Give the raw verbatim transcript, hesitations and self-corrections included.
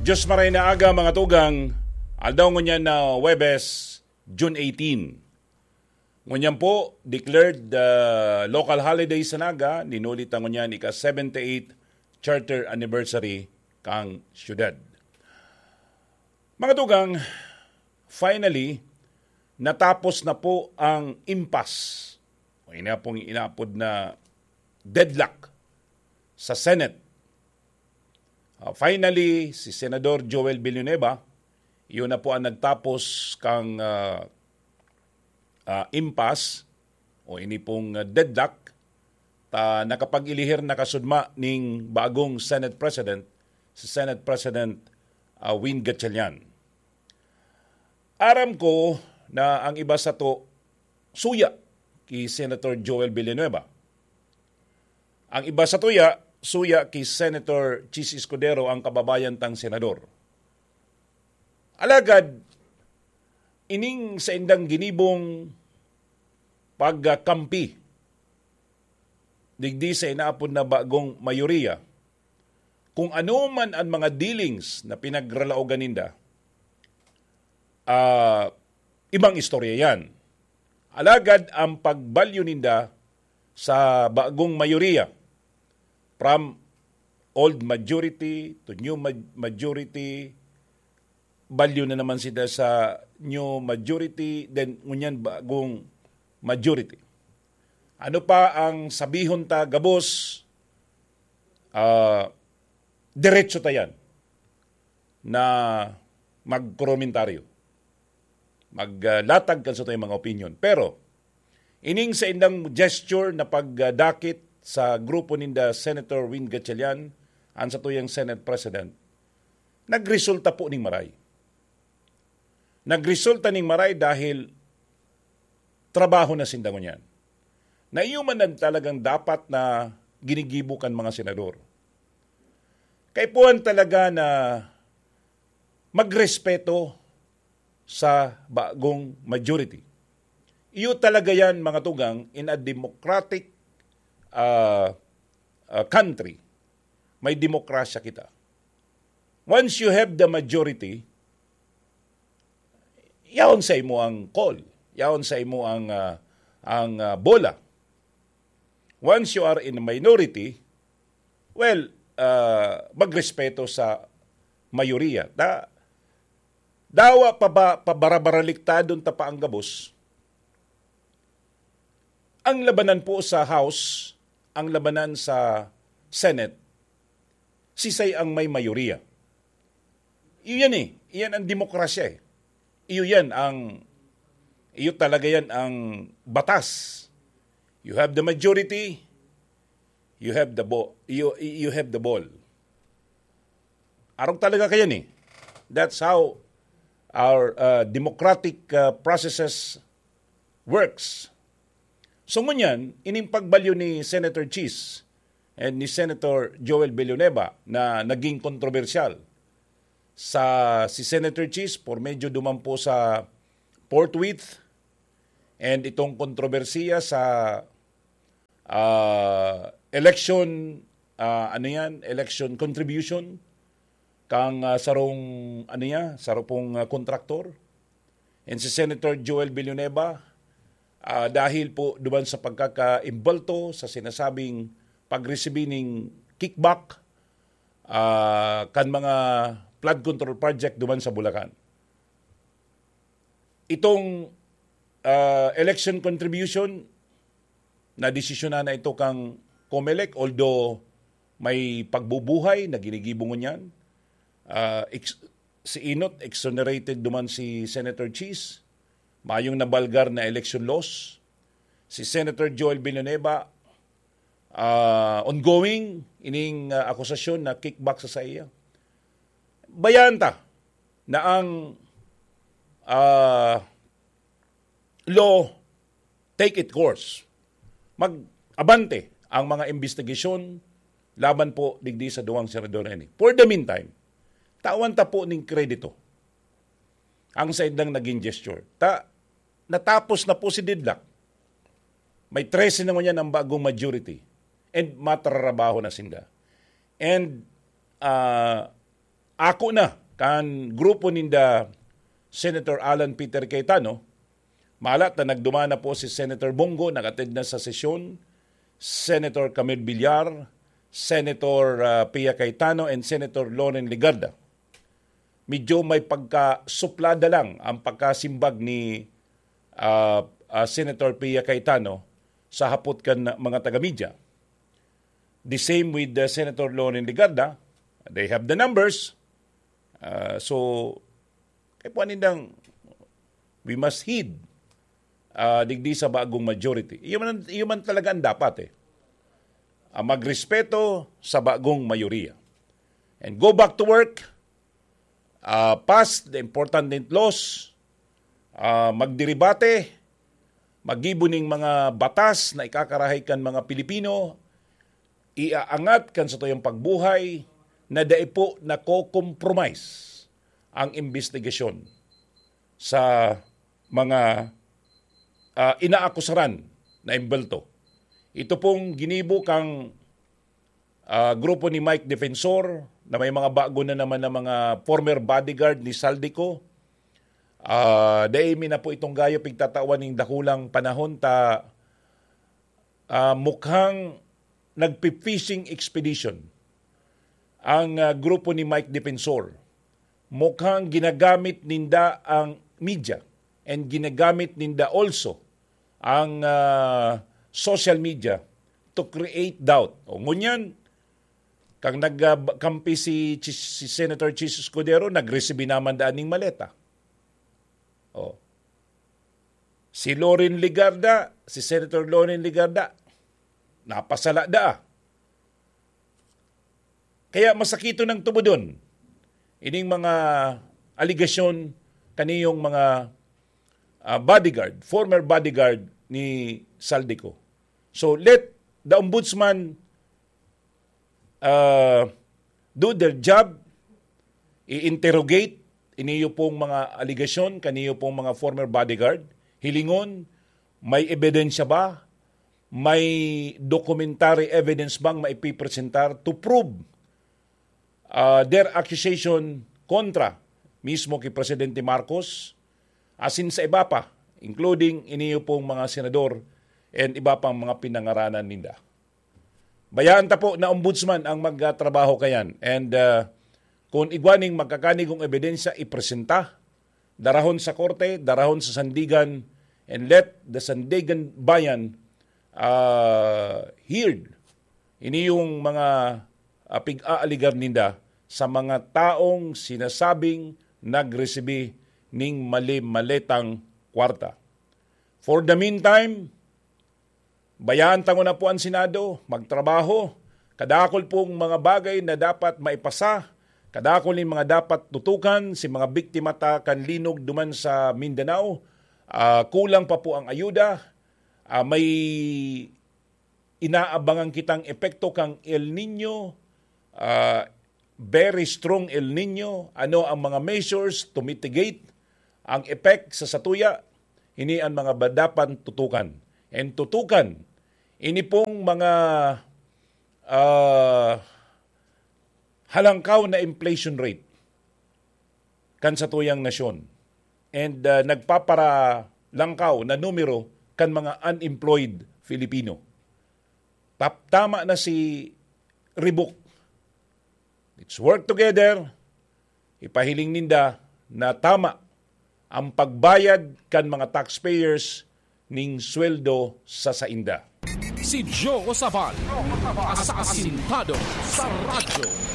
Diyos maray na aga, mga tugang, aldaw ngunyan na Huwebes, June eighteen. Ngunyan po, declared, ah, local holiday sa Naga, ninuli ta ngunyan ika seventy-eight charter anniversary kan syudad. Mga tugang, finally, natapos na po ang impasse o ina pong inaapod na deadlock sa Senate. Ah, finally, si Senador Joel Villanueva, iyon na po ang nagtapos kang, ah, ah, impasse o ini pong, ah, deadlock, ta nakapag-elihir na kasudma ning bagong Senate President, si Senate President, ah, Win Gatchalian. Aram ko na ang iba sato suya ki Senator Joel Villanueva. Ang iba satuya, suya ki Senator Chiz Escudero, ang kababayan tang senador. Alagad, ining saindang ginibong pagkampi digdi sa inaapod na bagong mayoriya, kung ano man ang mga dealings na pinagralaogan ninda, ah, ibang istorya yan. Alagad ang pagbalyo ninda sa bagong mayoriya, from old majority to new ma-, majority, balyo na naman sila sa new majority, then ngunyan bagong majority. Ano pa ang sabihon ta gabos? Ah, diretso ta yan na magkomentaryo, maglatag kan satuyang mga opinion. Pero, ining saindang gesture na pagdakit sa grupo ninda Senator Win Gatchalian, ang satuyang Senate President, nagresulta po ning maray. Nagresulta ning maray dahil trabaho na sinda ngunyan. Na iyo man ang talagang dapat na ginigibo kan mga senador. Kaipuhan talaga na magrespeto sa bagong majority. Iyo talaga yan, mga tugang, in a democratic, ah, ah, country. May demokrasya kita. Once you have the majority, yaon sa imo ang call. Yaon sa imo ang, ah, ang, ah, bola. Once you are in a minority, well, ah, magrespeto sa mayoriya. Da-, dawa pa ba, pabarabaraliktayon ta pa ang gabos? Ang labanan po sa House, ang labanan sa Senate, sisay ang may mayoriya. Iyo yan eh. Iyan ang demokrasya eh. Iyo yan ang, iyo talaga yan ang batas. You have the majority, you have the bo-, you, you have the ball. Arog talaga kayan eh. That's how our, uh, democratic, uh, processes works. So ngunyan, ining pagbalyo ni Senator Chiz and ni Senator Joel Villanueva na naging kontrobersyal. Sa, si Senator Chiz, por medyo duman po sa Fort Worth, and itong kontrobersiya sa, ah, election, ah, ano yan, election contribution kang, ah, sarong, ano niya, saro pong, ah, kontraktor. And si Senator Joel Villanueva, ah, dahil po duman sa pagkakaimbulto sa sinasabing pagresibi ning kickback, ah, kan mga flood control project duman sa Bulacan. Itong, ah, election contribution, nadesisyonan na ito kang Comelec, although may pagbubuhay na ginigibo ngunyan. Ah, ex-, si Enot, exonerated duman si Senator Chiz. Mayong nabalgar na election loss. Si Senator Joel Villanueva, ah, ongoing ining, ah, akusasyon na kickback sa saiya. Bayaan ta na ang, ah, law take it course. Mag-abante ang mga imbestigasyon laban po digdi sa duwang senador na ini. For the meantime, tawan ta po ning kredito ang saindang naging gesture. Ta-, natapos na po si deadlock. May trese na ngunyan ang bagong majority. And matrarabaho na sinda. And, ah, ako na kan grupo ninda Senator Alan Peter Cayetano, malat na nagduman na po si Senator Bong Go, nag-attend na sa sesyon, Senator Camille Villar, Senator, ah, Pia Cayetano, and Senator Loren Legarda. Medyo may pagkasuplada lang ang pagkasimbag ni, ah, ah, Senator Pia Cayetano sa hapot kan mga taga-media. The same with, uh, Senator Loren Legarda. They have the numbers. Uh, so, kaya po nindang, we must heed, uh, digdi sa bagong majority. Iyo man, iyo man talaga ang dapat eh. Ah, magrespeto sa bagong mayoriya. And go back to work, ah, pass the important laws, ah, magdiribate, maggibo ning mga batas na ikakarahay kan mga Pilipino, iaangat kan satuyang pagbuhay na dai po nako-compromise ang imbestigasyon sa mga, ah, inaakusaran na imbelto. Ito pong ginibo kang, ah, grupo ni Mike Defensor na may mga bago na naman na mga former bodyguard ni Zaldy Co. Ah, dai mi na po itong gayo pigtatawan ning dakulang panahon ta, ah, mukhang nagpi-fishing expedition ang, ah, grupo ni Mike Defensor. Mukhang ginagamit ninda ang media and ginagamit ninda also ang, ah, social media to create doubt. O ngunyan, kang nagkampi si, si Senator Chiz Escudero, nagresibi naman daan ning maleta. O. Si Loren Legarda, si Senator Loren Legarda, napasala daa. Kaya masakiton ang tubodon ining mga aligasyon kaniyong mga, ah, bodyguard, former bodyguard ni Zaldy Co. So, let the ombudsman, ah, do their job, i-interrogate iniyo pong mga aligasyon, kaniyo pong mga former bodyguard, hilingon, may ebidensya ba? May documentary evidence bang maipipresentar to prove, ah, their accusation kontra mismo kay Presidente Marcos, asin sa iba pa, including iniyo pong mga senador and iba pang mga pinangaranan ninda? Bayaan ta po na ombudsman ang magtrabaho kayan. And, ah, kung igwa ning magkakanigong ebidensya, ipresenta, darahon sa korte, darahon sa sandigan, and let the Sandigan Bayan, ah, heard ini yung mga, ah, pig-aaligar ninda sa mga taong sinasabing nagresibi ning mali-maletang kwarta. For the meantime, bayaan ta nguna po an Senado magtrabaho. Kadakul pong mga bagay na dapat maipasa, kadakul nin mga dapat tutukan si mga biktima ta kan linog duman sa Mindanao, ah, kulang pa po ang ayuda. Ah, may inaabangan kitang epekto kang El Niño, ah, very strong El Niño. Ano ang mga measures to mitigate ang effect sa satuya? Ini ang mga ba-, dapat tutukan. And tutukan, ini pong mga, ah, halangkaw na inflation rate kan satuyang nasyon. And, ah, nagpaparalangkaw na numero kan mga unemployed Filipino. Tap-, tama na si Ribok. Let's work together. Ipahiling ninda na tama ang pagbayad kan mga taxpayers ning sweldo sa sainda. Si Joe Sabal, asasintado sa radyo.